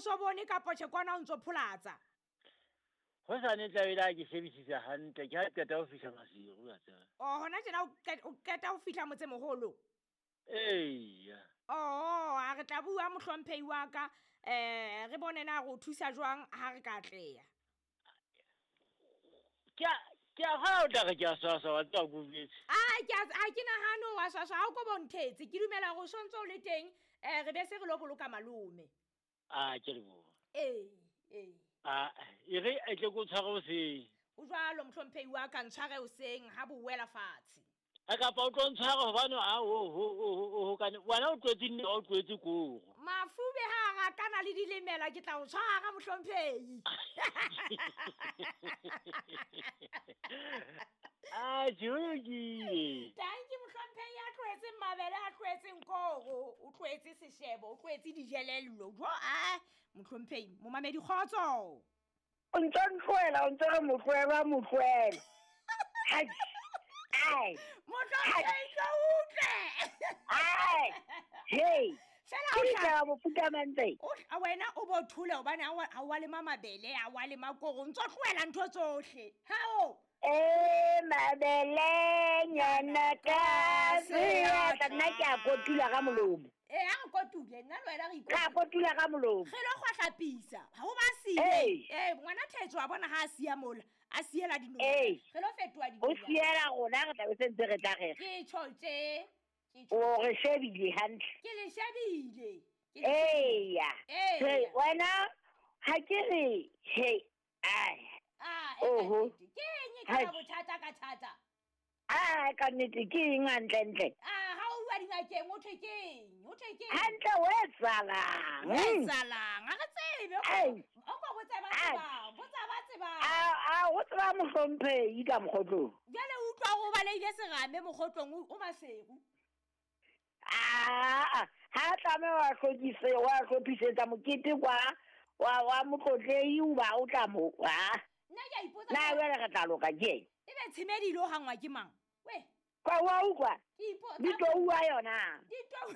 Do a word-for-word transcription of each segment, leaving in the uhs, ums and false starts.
so bone kapa tjhe kwana o ntso pholatsa. Ho sa ne tla bela ke shebisisa hantle ke ha qeta ho fihla Maseru a tseba. Oh hona tjena o qeta ho fihla motsemoholo. Eya. Oh a re tla bua mohlomphehi wa ka eh re bone na re o thusa jwang ha re ka atleha. Ke ke a ha o tla re ke a swaswa wa tswa go betse. Ah ke a ke nahane wa swaswa ha o ko bonthetse ke dumela hore o sontso o le teng eh re be se re lo boloka malome. Ah ke leboha. Eh eh. Ah e re e tle go tshware hoseng. O jwalo mohlomphehi wa ka ntshware hoseng ha bo wela fatshe. A kapa o tlo ntshware hobane a ho ho ho ho kane wena o tlwetse nne o tlwetse koro. Mafube ha ra kana le dilemela ke tla o tshwara mohlomphehi. Ah Jogi. Thank you mohlomphehi a tlwetse mabele a tlwetseng koro, o tlwetse seshebo, o tlwetse dijelello. Jo a mohlomphehi momamedi kgotso. O ntse ntloela, o ntse re motloela motloela. Hai. Ai. Mohlomphehi tlo utlwe. Ai. Hey. Fela o tla mofuta mantse. O wena o bo thule hobane ha wa le mabele, ha wa le makoro, ntso tlohela ntho tsohle. Hao. Eh mabele nyana ka seatla nna ke a kotula ka molomo. Eh a kotule nna le wena re ikotula. Ka kotula ka molomo. Re lo kgwahlapisa. Ha o ba siile. Eh ngwana Thetso wa bona ha a siya mola, a siela dinonyana. Re lo fetoha dinonyana. O siela rona re tla be sentse re tla re. Ke tjho tje. Ke tjho. O re shebile hantle. Ke le shebile. Eya. Hey wena ha ke re hey ai. Ah, e ke eng e ka bothata ka thata? Ah, ka nnete ke eng hantle ntle? Ah, ha o bua dingakeng o thwe ke eng? O thwe ke eng? Hantle o etsalang? O etsalang? Ha re tsebe. O ko botsa ba tsebang, botsa ba tsebang. Ah, ah, o tseba mohlomphehi ka mokgotlong. Jwale o utlwa o baleile serame mokgotlong o Maseru. Ah, ha tlameha wa hlokise wa hlophisetsa mokete kwa wa wa motlotlei o ba o tla mo. Ah. Nna ke a ipotsa. Na jwale re tla loka ke eng? Ebe tshimedi ilo hangwa ke mang? We. Kwa wa utlwa? Ke ipotsa. Ditou wa yona. Ditou.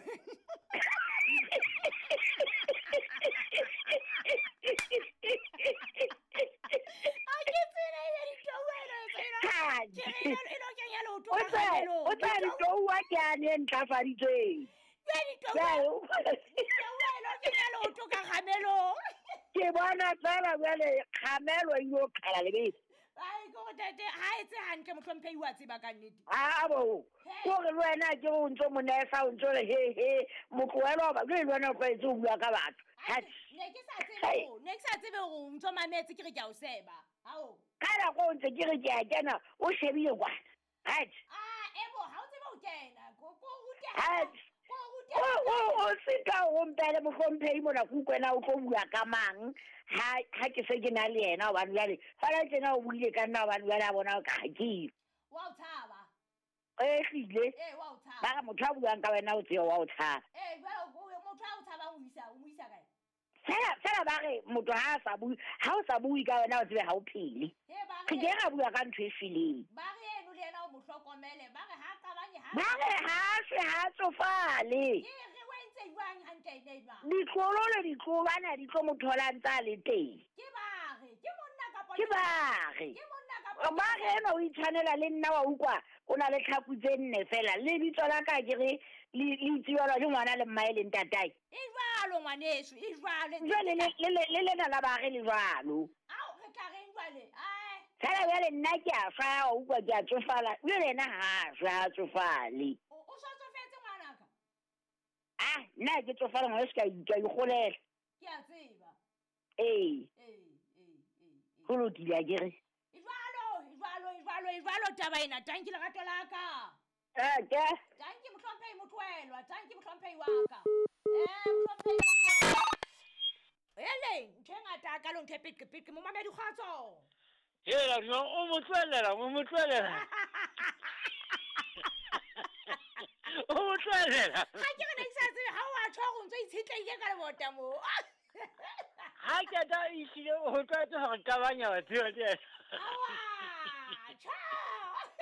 A ke tsela e ditou eno tsela. Ke re e lo kenya leoto ka kgamelong. O tla ditou wa ke a ne ntlafaditsweng. Ke ditou. Ditou eno kenya leoto ka kgamelong. Ke bona fela jwale kgamelo e yo qhala lebese. Ai go tete ha etse hantle mohlomphehi wa tseba ka nnete. Ah bo. Ko re le wena ke o ntso monesa o ntso re he he motloelo ba le wena o tlwaetse ho bua ka batho. Ne ke sa tsebe ho, ne ke sa tsebe hore o ntso mametse ke re ke a o seba. Hao. Ka nako o ntse ke re ke a kena o shebile kwana. Right. Ah ebo ha o tsebe ho kena. Ko ko rute. O o o seka o mpele mohlomphehi mona ke utlwena o tlo bua ka mang ha ha ke se ke na le yena hobane jwale fela tjena o buile ka nna hobane jwale a bona ka ha ke wa o tshaba. Eh hlile eh wa o tshaba ba re motho a buang ka wena o tseo wa o tshaba. Eh jwale motho a o tshabang o isa o mo isa kae? Fela fela ba re motho ha a sa bue ha o sa bue ka wena o tsebe ha o phele. Re ke ra bua ka ntho e fileng. Ba re eno le yena o mo hlokomele ba re ha qabanye ha ba re ha se ha tsofale. Ke re wa ntse jwang hantle ene jwang? Ditlolo le ditlolwana di tlo mo thola ntsa le teng. Ke ba re ke monna kapa ke ba re ke monna kapa ba re eno o itshwanela le nna wa utlwa o na le tlhaku tse nne fela le bitso la ka ke re le le itswelwa ke ngwana le mmae le ntatae. E jwalo ngwaneso e jwalo. Jwale le le le lena la ba re le jwalo. Ao re tla reng jwale? Ai. Fela jwale nna ke a fa o utlwa ke a tsofala jwale yena ha a tsofale. O o so tsofetse ngwanaka? Ah nna ke tsofala ngwana se ka ka ikgolela. Ke a tseba. Ee. Ee ee ee. Ho lokile a ke re. E jwalo, e jwalo, e jwalo, e jwalo taba ena. Tanki lerato la ka. Eh ke. Tanki mohlomphehi motloelwa, tanki mohlomphehi wa ka. Eh mohlomphehi wa ka. Ele, ntho e ngata ka lo ntho e peqe peqe momamedi kgotso. Hela no o motloelela, o motloelela. O motloelela. Ha ke re ne ke sa tsebe ha o a tjho hore o ntso itshetleile ka lebota moo. Ha ke ta ihlile ho tlwaetse hore qabanya batho ba teng.